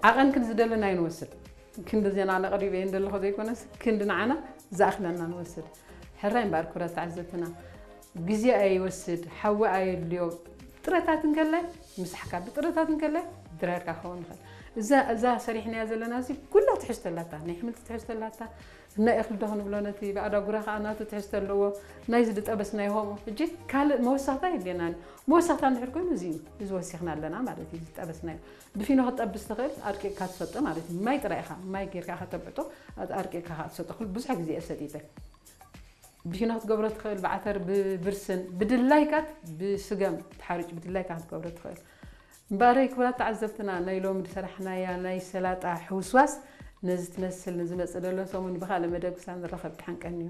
ዓቐን ክንዲ ዝደለና ኣይንወስድ። ክንዲ ዜና ነቕሪበ እየ እንደለኹ ዘይኮነስ፣ ክንዲ ንዓና ዝኣኽለና ንወስድ። ሕራይ እምበኣር ክብራት ተዓዘብትና፣ ግዜ ኣይወስድ፣ ሓዊ ኣየድልዮ። ጥረታት እንከላይ ምሳሕካ፣ ብጥረታት እንከላይ ድራርካ ክኸውን ይኽእል። እዛ፣ እዛ ሰሪሕናያ ዘለና እዚ ኩላ ትሕዝቶ ኣላታ፣ ናይ ኣሕምልቲ ትሕዝቶ ኣላታ፣ ናይ እኽሊ ዶ ክንብሎ፣ ነቲ ብኣዳጉራ ከኣ ናቱ ትሕዝቶ ኣለዎ፣ ናይዚ ዝጠበስናዮ ከምኡ። ሕጂ ካልእ መወሰኽታ የድልየናን። መወሰኽታ እንድሕር ኮይኑ እዚ እዩ፣ እዚ ወሲኽና ኣለና ማለት እዩ፣ ዝጠበስናዮ። ብፊኖ ክትጠብስ ትኽእል፣ ኣድቂቕካ ትሰጦ ማለት እዩ። ማይ ጥራይ ኢኻ፣ ማይ ጌርካ ኢኻ ተብዕጦ፣ ኣድቂቕካ ኢኻ ትሰጦ። ኩሉ ብዙሕ ግዜ እየ ሰጢጠ። ብፊኖ ክትገብሮ ትኽእል፣ ብዓተር፣ ብብርስን፣ ብድላይካት ብስገም ተሓሪጭ ብድላይካ ክትገብሮ ትኽእል። እምበኣረይ ክቡራት ተዓዘብትና፣ ናይ ሎሚ ዝሰራሕናያ ናይ ሰላጣ ሕውስዋስ ነዚ ትመስል። ንዝመጽእ ዘሎ ሰሙን ብኻልእ መደብ ክሳብ ንራኸብ ድሓን ቀንዩ።